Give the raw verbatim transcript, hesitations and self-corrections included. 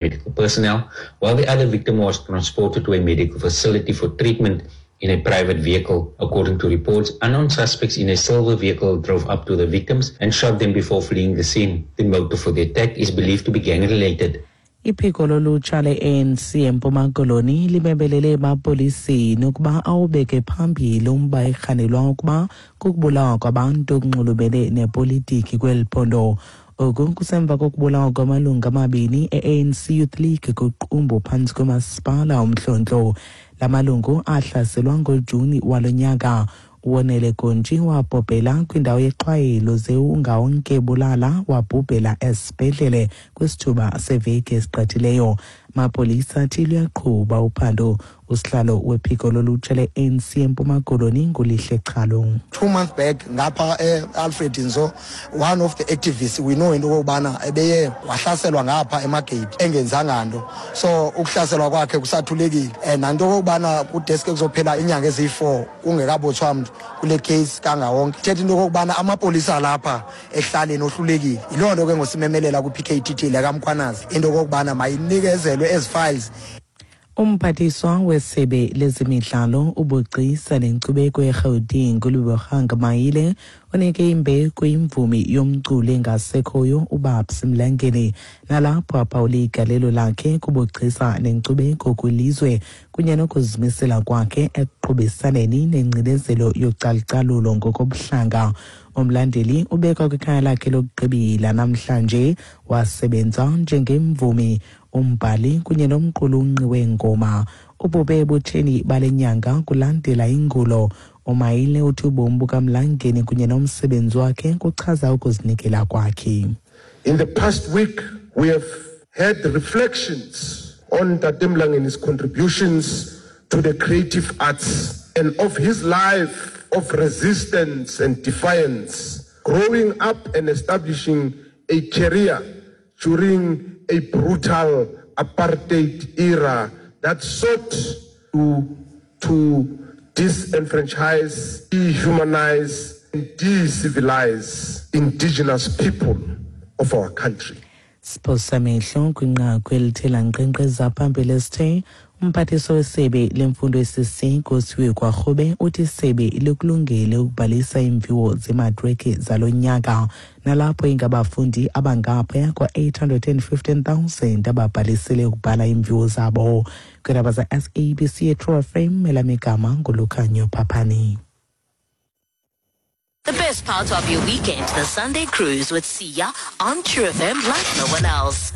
Medical personnel, while the other victim was transported to a medical facility for treatment in a private vehicle. According to reports, unknown suspects in a silver vehicle drove up to the victims and shot them before fleeing the scene. The motive for the attack is believed to be gang-related. Iphiko lolutsha le-A N C eMpuma Koloni limebelele emapoliseni ukuba awubeke phambili umba erhanelwa ukuba kukubulawa kwabantu okunxulumene nepolitiki kweli phondo. Oku kusemva kokubulawa kwamalungu amabini e-A N C Youth League kuQumbu phantsi komasipala uMhlontlo. La malungu ahlaselwa ngoJuni walo nyaka. Uwonele Gontshi wabhubhela kwindawo yexhwayelo ze uNgawonke Bulala wabhubhela esibhedlele kwisithuba seveki esigqithileyo. Amapolisa athi luyaqhuba uphando. Usihlalo wephiko lolutsha le-A N C eMpuma Koloni nguLihle Chalo. Two months back ngapha e-Alfred Nzo, one of the activists we know into okokubana ebeye wahlaselwa ngapha eMargate engenzanga nto, so ukuhlaselwa kwakhe kusathulekile um nanto okokubana kudeske kuzophela iinyanga eziyi-four kungekabotshwa mntu kule case kangawonke. Thetha into okokubana amapolisa alapha ekuhlaleni ohlulekile. Yiloo nto ke ngosimemelela kwi-P K T T lekaMkhwanazi into okokubana mayinikezelwe ezi files. Umphathiswa wesebe lezemidlalo, ubugcisa nenkcubeko eRhawutini uLebogang Maile unike imbeko imvumi yomculo engasekhoyo uBabs Mlangeni, nalapho aphawule igalelo lakhe kubugcisa nenkcubeko kwilizwe kunye nokuzimisela kwakhe ekuqhubisaneni nengcinezelo yocalucalulo ngokobuhlanga. Umlandeli ubekwa kwikhaya lakhe lokugqibela namhlanje. Wasebenza njengemvumi, umbhali kunye nomqulunqi weengoma. Ubhubhe ebutsheni bale nyanga kulandela ingulo. UMaile uthi ubomi bukaMlangeni kunye nomsebenzi wakhe kuchaza ukuzinikela kwakhe. In the past week, we have had reflections on Tate Mlangeni's contributions to the creative arts and of his life of resistance and defiance, growing up and establishing a career during a brutal apartheid era that sought to, to disenfranchise, dehumanize, and decivilize indigenous people of our country. Siphosa amehlo kwinqaku elithe lankqenkqeza phambili esithe umphathiswa wesebe lemfundo esiseko uSiviwe Gwarube uthi isebe likulungele ukubhalisa iimviwo zematriki zalo nyaka, nalapho ingabafundi abangaphaya kwa-eight hundred and fifteen thousand ababhalisele ukubhala iimviwo zabo. Kwiindaba za-S A B C eTrue F M, elam igama nguLukhanyo Phaphani. The best part of your weekend, the Sunday Cruise with Sia on True F M like no one else.